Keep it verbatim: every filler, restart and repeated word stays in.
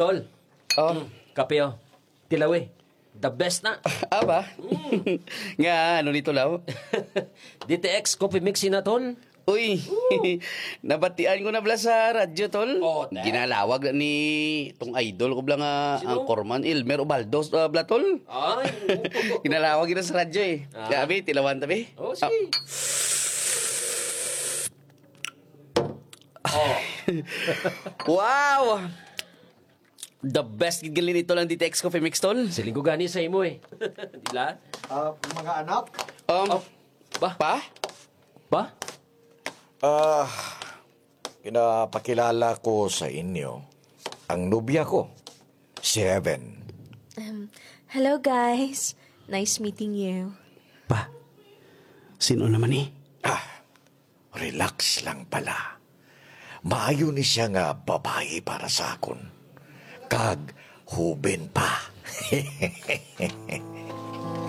Tol. Oh. Mm, kape, oh. Tilawi. The best na. Aba? Nga, ano ni, Tol, aw? D T X Coffee Mix na, Tol. Uy, nabatian ko na bala sa radyo, Tol. Oh, te. Ginalawag na ni tong idol ko bala nga Sino? Anchorman, Elmer Ubaldo, ah, bala, Tol. Ay, oo. Ginalawag na sa radyo, eh. Ah. Grabe, tilawan tabi. Oh, sige. Ah. Oh. Wow! The best gid gali nito lang D T X Coffee Mix, Tol. Siling ko gani sa imo, eh. Di la? Ah, mga anak? Um, Oh, ba? Pa? Ba? Ah, pinapakilala ko sa inyo ang nobya ko, si Heaven. Um, hello, guys. Nice meeting you. Pa, sino naman ni? Ah, relax lang pala. Maayo ni siya nga babayi para sa akon. Kag huben pa.